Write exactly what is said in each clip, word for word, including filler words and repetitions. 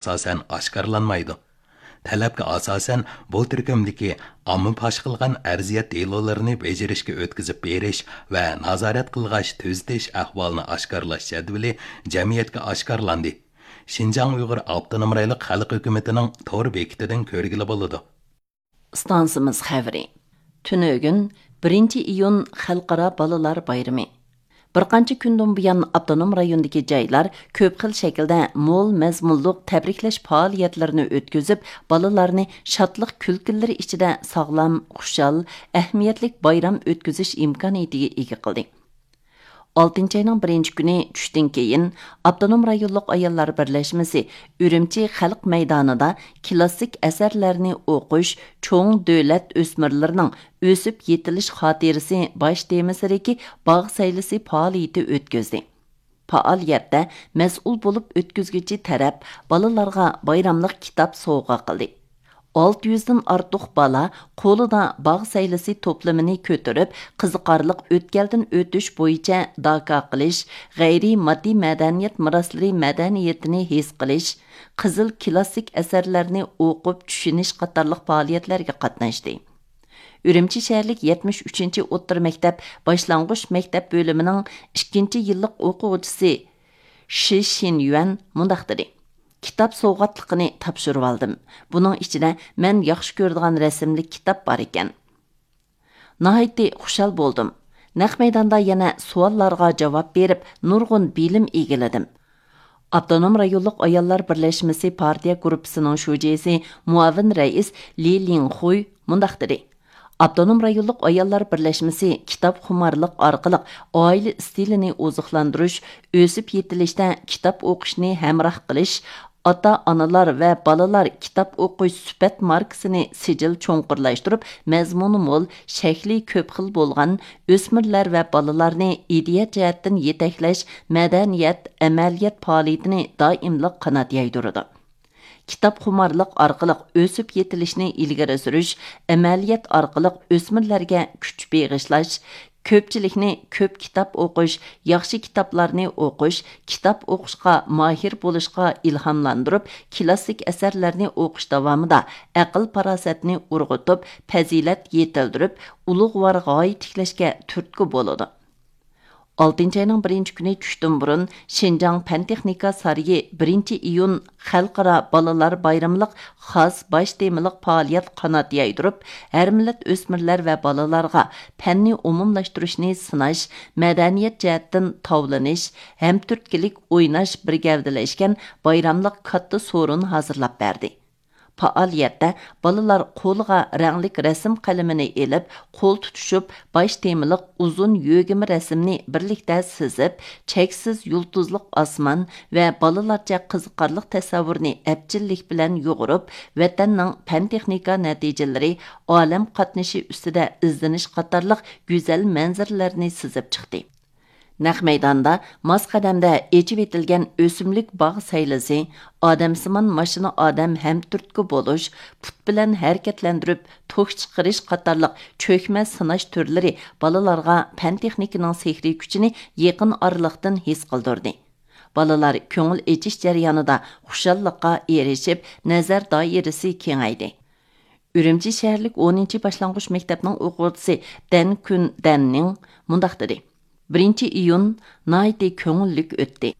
ئاساسەن ئاشكارىلانمايدۇ. تەلەپكە ئاساسەن، بۇ تۈركۈمدىكى ئامما پاش قىلغان ئەرزىيەت دېلولىرىنى بېجىرىشكە ئۆتكۈزۈپ بېرىش ۋە نازارەت قىلغاچ تۈزىتىش ئەھۋالىنى ئاشكارىلاش جەدۋىلى جەمئىيەتكە ئاشكارىلاندى. شىنجاڭ ئۇيغۇر ئاپتونوم رايونلۇق خەلق ھۆكۈمىتىنىڭ تور بېكىتىدىن كۆرگىلى بولىدۇ. ئىستانسىمىز خەۋىرى. تۈنۈگۈن، بىرىنچى ئىيۇن، خەلقئارا بالىلار بايرىمى. بىر قانچە كۈندىن بۇيان، ئاپتونوم رايوندىكى جايلار كۆپ خىل شەكىلدە مول مەزمۇنلۇق تەبرىكلەش پائالىيەتلىرىنى ئۆتكۈزۈپ، بالىلارنى شادلىق كۈلكىلىرى ئىچىدە ساغلام، خۇشال، ئەھمىيەتلىك بايرام ئۆتكۈزۈش ئىمكانىيىتىگە ئىگە قىلدى. ئالتىنچى ئاينىڭ بىرىنچى كۈنى چۈشتىن كېيىن، ئاپتونوم رايونلۇق ئاياللار بىرلەشمىسى ئۈرۈمچى خەلق مەيدانىدا كىلاسسىك ئەسەرلەرنى ئوقۇش، چوڭ دۆلەت ئۆسمۈرلىرىنىڭ ئۆسۈپ يېتىلىش خاتىرىسى باش تېمىسىدىكى باغ سەيلىسى پائالىيىتى ئۆتكۈزدى. پائالىيەتتە مەسئۇل بولۇپ ئۆتكۈزگۈچى تەرەپ بالىلارغا بايراملىق كىتاب سوۋغا قىلدى. ئالتە يۈزدىن ئارتۇق بالا قولىدا باغ سەيلىسى توپلىمىنى كۆتۈرۈپ، قىزىقارلىق ئۆتكەلدىن ئۆتۈش بويىچە داكا قىلىش، غەيرىي ماددىي مەدەنىيەت مىراسلىرى مەدەنىيىتىنى ھېس قىلىش، قىزىل كىلاسسىك ئەسەرلەرنى ئوقۇپ چۈشىنىش قاتارلىق پائالىيەتلەرگە قاتناشتى. ئۈرۈمچى شەھەرلىك يەتمىش ئۈچىنچى ئوتتۇرا مەكتەپ باشلانغۇچ مەكتەپ بۆلۈمىنىڭ ئىككىنچى يىللىق ئوقۇغۇچىسى شى شىنيۈەن مۇنداق دېدى: «كىتاب سوۋغاتلىقىنى تاپشۇرۇۋالدىم. بۇنىڭ ئىچىدە مەن ياخشى كۆرىدىغان رەسىملىك كىتاب بار ئىكەن. ناھايىتى خۇشال بولدۇم. نەق مەيداندا يەنە سوئاللارغا جاۋاب بېرىپ، نۇرغۇن بىلىم ئىگىلىدىم.» ئاپتونوم رايونلۇق ئاياللار بىرلەشمىسى پارتىيە گۇرۇپپىسىنىڭ شۇجىسى، مۇئاۋىن رەئىس لى لىڭخۇي مۇنداق دېدى: «ئاپتونوم رايونلۇق ئاياللار بىرلەشمىسى كىتابخۇمارلىق ئارقىلىق ئائىلە ئىستىلىنى ئوزۇقلاندۇرۇش، ئۆسۈپ يېتىلىشتە كىتاب ئوقۇشنى ھەمراھ قىلىش، ئاتا-ئانىلار ۋە بالىلار كىتاب ئوقۇش سۈپەت ماركىسىنى سىجىل چوڭقۇرلاشتۇرۇپ، مەزمۇنى مول، شەكلى كۆپ خىل بولغان، ئۆسمۈرلەر ۋە بالىلارنى ئىدىيە جەھەتتىن يېتەكلەش مەدەنىيەت، ئەمەلىيەت پائالىيىتىنى دائىملىق قانات يايدۇرىدۇ. كىتابخۇمارلىق ئارقىلىق ئۆسۈپ يېتىلىشنى ئىلگىرى سۈرۈش، ئەمەلىيەت ئارقىلىق ئۆسمۈرلەرگە كۈچ بېغىشلاش، كۆپچىلىكنى كۆپ كىتاب ئوقۇش، ياخشى كىتابلارنى ئوقۇش، كىتاب ئوقۇشقا ماھىر بولۇشقا ئىلھاملاندۇرۇپ، كىلاسسىك ئەسەرلەرنى ئوقۇش داۋامىدا ئەقىل-پاراسەتنى ئۇرغۇتۇپ، پەزىلەت يېتىلدۈرۈپ، ئۇلۇغۋار غايە تىكلەشكە تۈرتكە بولىدۇ.» ئالتىنچى ئاينىڭ بىرىنچى كۈنى چۈشتىن بۇرۇن، شىنجاڭ پەن-تېخنىكا سارىيى بىرىنچى ئىيۇن خەلقئارا بالىلار بايرىملىق خاس باش تېمىلىق پائالىيەت قانات يايدۇرۇپ، ھەر مىللەت ئۆسمۈرلەر ۋە بالىلارغا پەننى ئومۇملاشتۇرۇشنى سىناش، مەدەنىيەت جەھەتتىن تاۋلىنىش، ھەمتۈرتكىلىك ئويناش بىر گەۋدىلەشكەن بايراملىق كاتتا سورۇن ھازىرلاپ بەردى. پائالىيەتتە بالىلار قولىغا رەڭلىك رەسىم قەلىمىنى ئېلىپ، قول تۇتۇشۇپ، باش تېمىلىق ئۇزۇن يۆگىمە رەسىمنى بىرلىكتە سىزىپ، چەكسىز يۇلتۇزلۇق ئاسمان ۋە بالىلارچە قىزىقارلىق تەسەۋۋۇرنى ئەپچىللىك بىلەن يۇغۇرۇپ، ۋەتەننىڭ پەن-تېخنىكا نەتىجىلىرى، ئالەم قاتنىشى ئۈستىدە ئىزدىنىش قاتارلىق گۈزەل مەنزىرىلەرنى سىزىپ چىقتى. نەق مەيداندا ماس قەدەمدە ئېچىۋېتىلگەن ئۆسۈملۈك باغ سەيلىسى، ئادەمسىمان ماشىنا ئادەم ھەمتۈرتكە بولۇش، پۇت بىلەن ھەرىكەتلەندۈرۈپ توك چىقىرىش قاتارلىق چۆكمە سىناش تۈرلىرى بالىلارغا پەن-تېخنىكىنىڭ سېھرىي كۈچىنى يېقىن ئارىلىقتىن ھېس قىلدۇردى. بالىلار كۆڭۈل ئېچىش جەريانىدا خۇشاللىققا ئېرىشىپ، نەزەر دائىرىسى كېڭەيدى. ئۈرۈمچى شەھەرلىك ئونىنچى باشلانغۇچ مەكتەپنىڭ ئوقۇغۇچىسى دەن كۈن دەننىڭ مۇنداق دېدى: «بىرىنچى ئىيۇن ناھايىتى كۆڭۈللۈك ئۆتتى.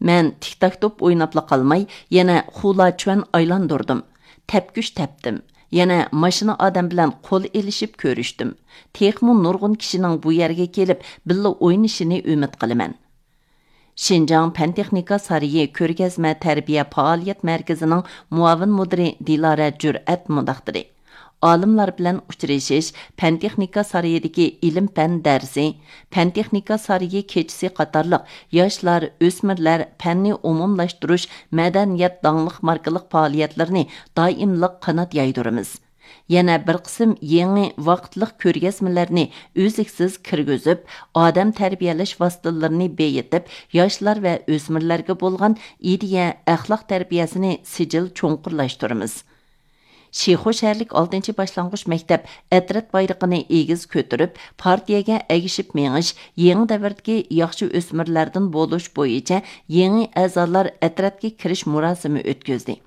مەن تىك-تاك توپ ئويناپلا قالماي، يەنە خۇلا چۈەن ئايلاندۇردۇم، تەپكۈچ تەپتىم، يەنە ماشىنا ئادەم بىلەن قول ئېلىشىپ كۆرۈشتۈم. تېخىمۇ نۇرغۇن كىشىنىڭ بۇ يەرگە كېلىپ بىللە ئوينىشىنى ئۈمىد قىلىمەن.» شىنجاڭ پەن-تېخنىكا سارىيى كۆرگەزمە تەربىيە پائالىيەت مەركىزىنىڭ مۇئاۋىن مۇدىرى دىلارە جۈرئەت مۇنداق دېدى: «ئالىملار بىلەن ئۇچرىشىش، پەن-تېخنىكا سارىيىدىكى ئىلىم-پەن دەرسى، پەن-تېخنىكا سارىيى كېچىسى قاتارلىق ياشلار، ئۆسمۈرلەر پەننى ئومۇملاشتۇرۇش مەدەنىيەت داڭلىق ماركىلىق پائالىيەتلىرىنى دائىملىق قانات يايدۇرىمىز. يەنە بىر قىسىم يېڭى ۋاقىتلىق كۆرگەزمىلەرنى ئۈزلۈكسىز كىرگۈزۈپ، ئادەم تەربىيەلەش ۋاسىتىلىرىنى بېيىتىپ، ياشلار ۋە ئۆسمۈرلەرگە بولغان ئىدىيە، ئەخلاق تەربىيەسىنى سىجىل چوڭقۇرلاشتۇرىمىز. شىخۇ شەھەرلىك ئالتىنچى باشلانغۇچ مەكتەپ ئەترەت بايرىقىنى ئېگىز كۆتۈرۈپ، پارتىيەگە ئەگىشىپ مېڭىش، يېڭى دەۋردىكى ياخشى ئۆسمۈرلەردىن بولۇش بويىچە يېڭى ئەزالار ئەترەتكە كىرىش مۇراسىمى ئۆتكۈزدى.